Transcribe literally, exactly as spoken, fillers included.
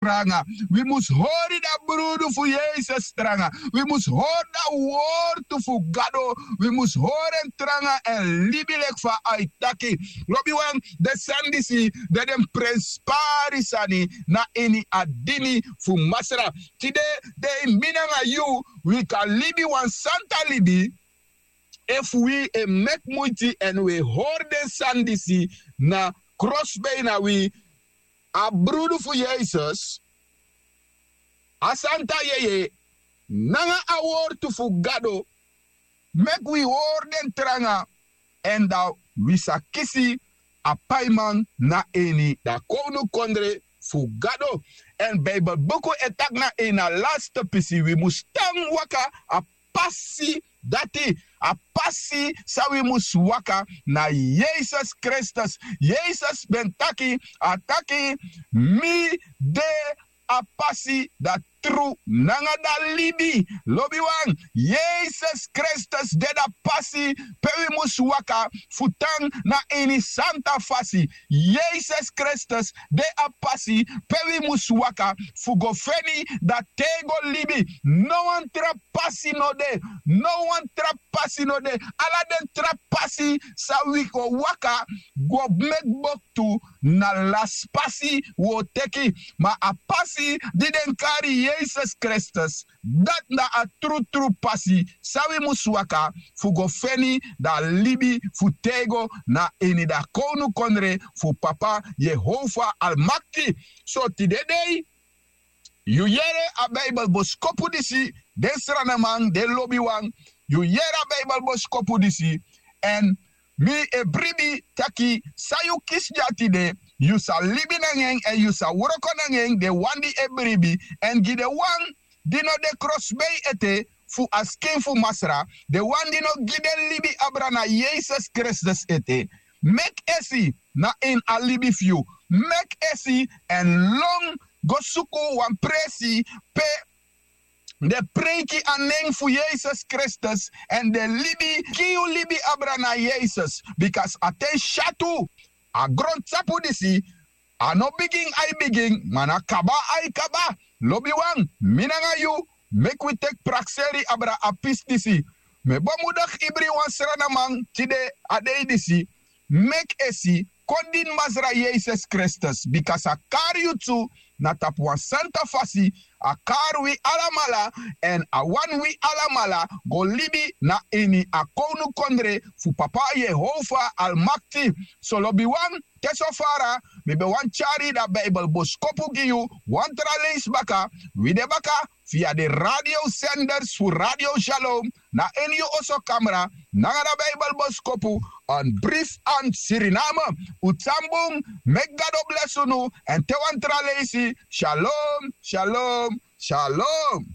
tranga. Wi mus hori dan brudu fu yesus tranga. Wi mus hori dan wortu fu gado. Wi mus hori en tranga èn libi leki fa a e taki. Lobiwan, den sani disi de den prenspari sani na ini a dini fu masra. Tide dei mi nanga yu wi kan libi wan santa libi efu wi e meki muiti èn wi e hori den sani disi na krosbei na wi. A brudu fu yesus, a santa yeye nanga a wortu fu gado meki wi hori den tranga. Èn dan wi sa kisi a paiman na ini dan kownukondre fu gado. Èn bibelbuku e taki na ini a laste pisi wi mus tan waka a pasi dati. A pasi san wi mus waka na yesus kristus. Yesus ben taki, a taki, mi de a pasi, dan tru nanga dan libi. Lobiwan, yesus kristus de dan pasi pe wi mus waka fu tan na ini santa fasi. Yesus kristus de a pasi pe wi mus waka fu go feni dan tego libi. No wan tra pasi no de. No wan tra pasi no de. Ala den tra pasi san wi go waka go meki boktu na lasi pasi wi o teki. Ma a pasi di den kari yesus kristus, dati na a trutru pasi san wi mus waka fu go feni dan libi fu tego na ini dan kownukondre fu papa yehova almakti. So tide dei yu yere a bibelboskopu disi, den sranaman, den lobiwan, yu yere a bibelboskopu disi. Èn mi e bribi taki san yu kisi dya tide, yu sa libi nanga en èn yu sa wroko nanga en, den wan di e bribi èn gi den wan di no de krosbei ete fu a skin fu masra, den wan di no gi den libi abra na yesus kristus ete. Meki esi na ini a libi fu yu. Meki esi èn lon go suku wan presi pe den preiki a nen fu yesus kristus èn den libi gi yu libi abra na yesus. Bika a ten syatu a grontapu disi a no bigin ai bigin ma na kaba ai kaba. Lobiwan, mi nanga yu meki wi teki prakseri abra a pisi disi. Mi e bemudegi ibri wan sranaman tide a dei disi. Meki esi kon dini masra yesus kristus bika a kari yu tu na tapu wan santa fasi. A kari wi alamala èn a wani wi alamala go libi na ini a kownukondre fu papa yehova almakti. So lobiwan, te so fara mi ben wani tyari dan bibelboskopu gi yu wan tra leisi baka. Wi de baka via den radiosenders fu radio shalom na ini yu oso kamra nanga dan bibelboskopu. An brif an siriname. Un tan bun. Meki gado blesi unu. Èn te wan tra leisi. Shalom, shalom, shalom.